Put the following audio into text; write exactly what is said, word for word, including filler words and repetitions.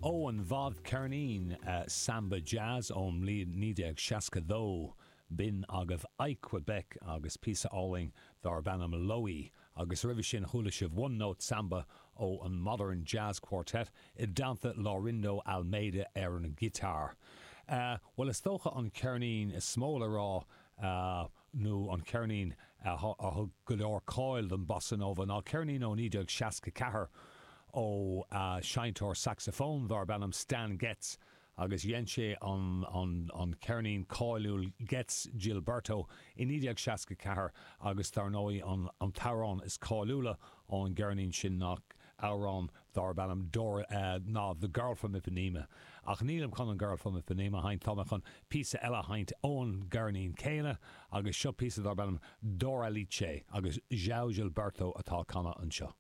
Ón bhfadcheirnín Samba Jazz ón mbliain naoi déag seasca dó, b'in agaibh Ike Quebec agus píosa álainn darb ainm Loie, agus roimhe sin chuala sibh One Note Samba ó an Modern Jazz Quartet i dteannta Laurindo Almeida ar an ngiotár. Bhuel, is dócha an ceirnín is mó le rá nó an ceirnín a thug go leor cáil don bossa nova ná ceirnín ó naoi déag seasca ceathair ó seinnteoir sacsafóin darb ainm Stan Getz agus dhein sé an an ceirnín cáiliúil Getz Gilberto i naoi déag seasca ceathair agus dar ndóigh an an t-amhrán is cáiliúla ón gceirnín sin ná amhrán darb ainm Dora ná The Girl from Ipanema. Ach nílim chun an Girl from Ipanema a sheinnt, tá mé chun píosa eile a sheinnt ón gceirnín céanna agus seo píosa darb ainm Doralice agus João Gilberto atá ag canadh anseo.